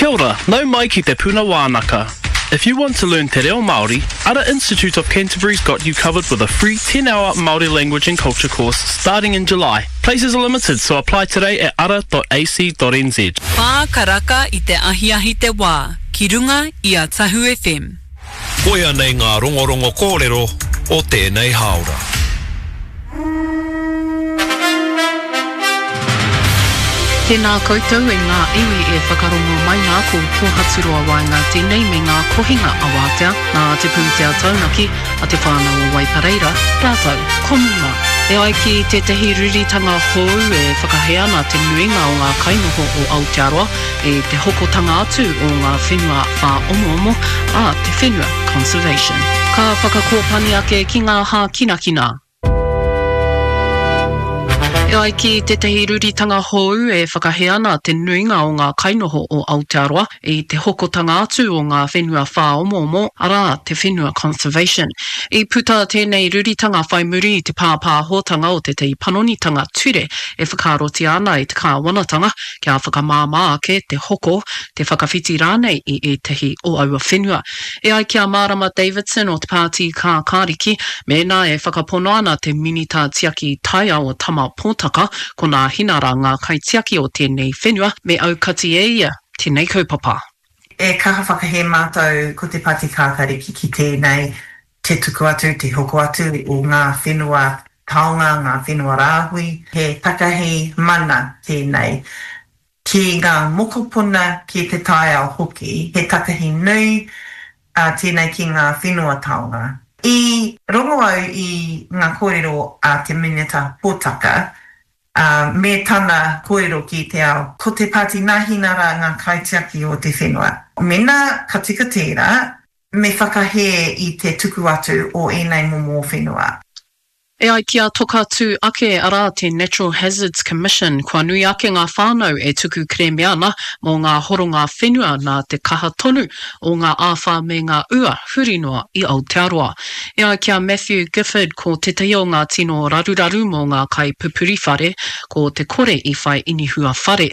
Kia ora, nau mai ki Te Puna Wānaka. If you want to learn Te Reo Māori, Ara Institute of Canterbury's got you covered with a free 10-hour Māori language and culture course starting in July. Places are limited, so apply today at ara.ac.nz. Whā karaka i te ahiahi te wā, ki runga i a Tahu FM. Koia nei ngā rongorongo kōrero o tēnei hāora. Tēnā koutou e ngā iwi e whakarongo mai nā ko Pōhaturoa Waenga tēnei me ngā kohinga awātea nā te pūtea taunaki a te whānau o Waipareira rātou ko Muma. E ai ki tētahi ruritanga hou e whakahē ana te nuinga o ngā kainoho o Aotearoa i te hokotanga atu o ngā whenua whāomoomo a Te Whenua Conservation. Ka whakakōpani ake ki ngā hākinakina. E ai ki tētahi ruritanga hou e whakahē ana te nuinga o ngā kainoho o Aotearoa i te hokotanga atu o ngā whenua whāomoomo, arā, te whenua conservation. I puta tēnei ruritanga whai muri i te pāpāhotanga o tētahi panonitanga ture e whakaarotia ana e te kāwanatanga kia whakamāmā ake te hoko, te whakawhiti rānei i ētahi o aua whenua. E ai ki a Marama Davidson o te Pāti Kākāriki, mēnā e whakapono ana te Minita Tiaki Taiao o Tama Pōtaka, ko Nāhinara ngā kaitiaki o tēnei whenua, me aukati e ia tēnei kaupapa. E kaha whakahē mātou ko te Pāti Kākāriki ki tēnei te tuku atu, te hoko atu o ngā whenua taonga, ngā whenua rāhui. He takahi mana tēnei ki ngā mokopuna, ki te taiao hoki. He takahi nui tēnei ki ngā whenua taonga. I rongo au i ngā kōrero a te Minita Potaka, ā, me tana kōrero ki te ao, ko te Pāti Nāhinara ngā kaitiaki o te whenua. Mēnā ka tika tērā, me whakahē i te tuku atu o ēnei momo whenua. E ai ki a Toka Tū Ake, arā, te Natural Hazards Commission, kua nui ake ngā whānau e tuku kerēme ana mō ngā horonga whenua nā te kaha tonu o ngā āwhā me ngā ua huri noa i Aotearoa. E ai ki a Matthew Gifford, ko tētahi o ngā tino raruraru mō ngā kaipupuri whare, ko te kore i whai inihua whare.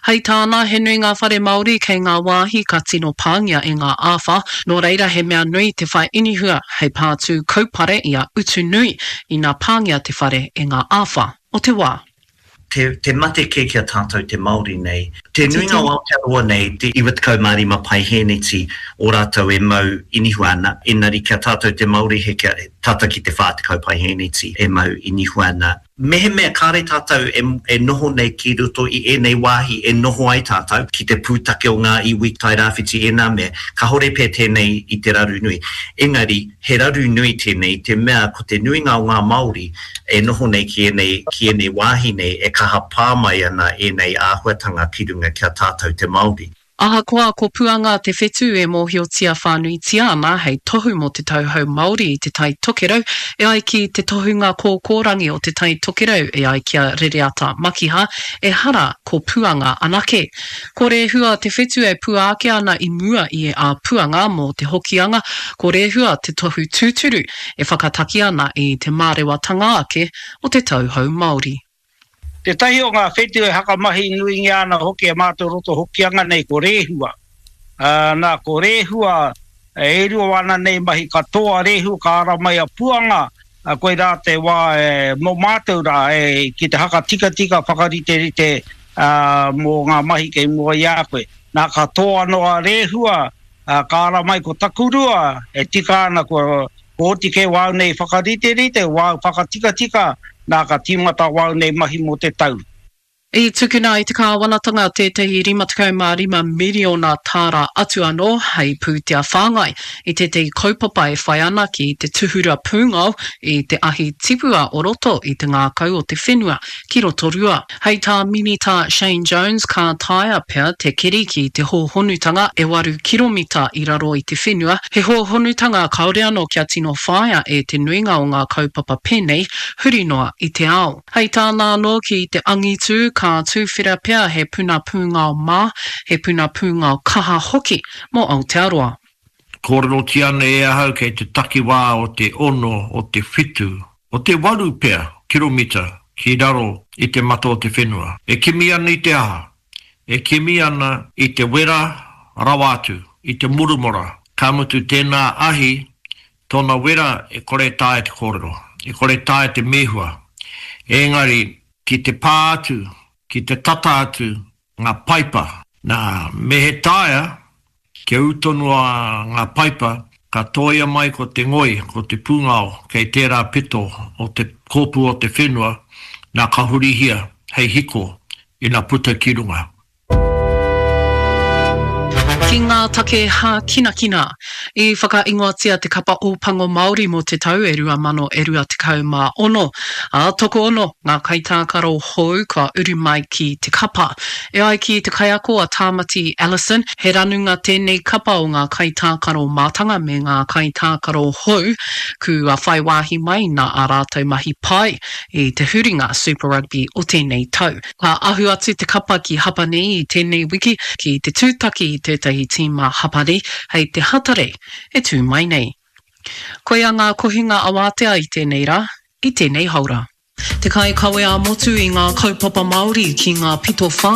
Hei tāna, he nui ngā whare Māori kei ngā wāhi ka tino pāngia e ngā āwhā, nō reira he mea nui te whai inihua hei pātū kaupare i a utu nui ina pāngia te whare e ngā āwhā o te wā. Te, te mate kē ki a tātou te Māori nei. Te nuinga o Aotearoa nei, te 95 paihēneti o rātou e mau inihua ana, engari ki a tātou te Māori he kia, tata ki te 40 paihēneti e mau inihua ana. Mehemea kāre tātou e, e noho nei ki roto i ēnei wāhi e noho ai tātou, ki te pūtake o ngā iwi Tairāwhiti ēnā mea, kāore pea tēnei i te raru nui. Engari, he raru nui tēnei i te mea ko te nuinga o ngā Māori e noho nei ki ēnei, ki ēnei wāhi nei e kaha pā mai ana ēnei āhuatanga ki runga ki a tātou te Māori. Ahakoa ko Puanga te whetū e mōhiotia whānuitia ana hei tohu mō te tauhou Māori i Te Tai Tokerau, e ai ki te tohunga kōkōrangi o Te Tai Tokerau e ai ki a Rereata Makiha, ehara ko Puanga anake. Ko Rehua te whetū e pua ake ana i mua i a Puanga mō te Hokianga, ko Rehua te tohu tūturu e whakataki ana i te mārewatanga ake o te tauhou Māori. Tētahi o ngā whetū e hakamahi nuingia ana hoki e mātou roto Hokianga nei ko Rēhua. Ā, nā, ko Rēhua, e rua ana nei mahi katoa Rēhua ka ara mai a Puanga, ā, koirā te wā e, mō mātou rā, e, ki te hakatikatika, whakariterite, ā, mō ngā mahi kei mua i a koe. Nā, ka tō anō a Rēhua, ā, ka ara mai ko Takurua, e tika ana kua, Kua oti kē wāu nei whakariterite, wāu whakatikatika, nā ka tīmata wāu nei mahi mō te tau. I tukuna e te kāwanatanga tētahi 55 miriona tāra atu anō hei pūtea whāngai i tētahi kaupapa e whai ana ki te tuhura pūngao i te ahi tipua o roto i te ngākau o te whenua ki Rotorua. Hei tā Minita Shane Jones ka taea pea te keri ki te hōhonutanga e waru kiromita i raro i te whenua, he hōhonutanga kāore anō kia tino whāia e te nuinga o ngā kaupapa pēnei huri noa i te ao. Hei tāna anō ki te angitū ka tūwhera pea he puna pūngao mā, he puna pūngao kaha hoki mō Aotearoa. Kōrerotia ana e ahau kei te takiwā o te ono, o te whitu, o te waru pea kiromita ki raro i te mata o te whenua. E kimi ana i te aha? E kimi ana i te wera. rawa atu i te murumora, ka mutu tēnā ahi, tōna wera e kore taea te kōrero, e kore taea te mēhua. Engari, ki te pā atu, ki te tata atu ngā paipa, nā, me he taea, kia ū tonu a ngā paipa, ka tōia mai ko te ngoi, ko te pūngao kei tērā pito o te kōpū o te whenua, nā ka hurihia hei hiko ina puta ki runga. Ki ngā take hākinakina. I whakaingoatia te kapa Ōpango Māori mō te tau e 2000 e 26, ā, tokoono ngā kaitākaro hou kua uru mai ki te kapa. E ai ki te kaiako a Tāmati Ellison, he ranunga tēnei kapa o ngā kaitākaro mātanga me ngā kaitākaro hou kua whai wāhi mai nā ā rātou mahi pai i te huringa Super Rugby o tēnei tau. Ka ahu atu te kapa ki Hapani i tēnei wiki ki te tūtaki i tētahi tīma Hapani hei te Hatarei e tū mai nei. Koia ngā kohinga awātea i tēnei rā, i tēnei haora. Te kaikawe ā-motu i ngā kaupapa Māori ki ngā pito whā.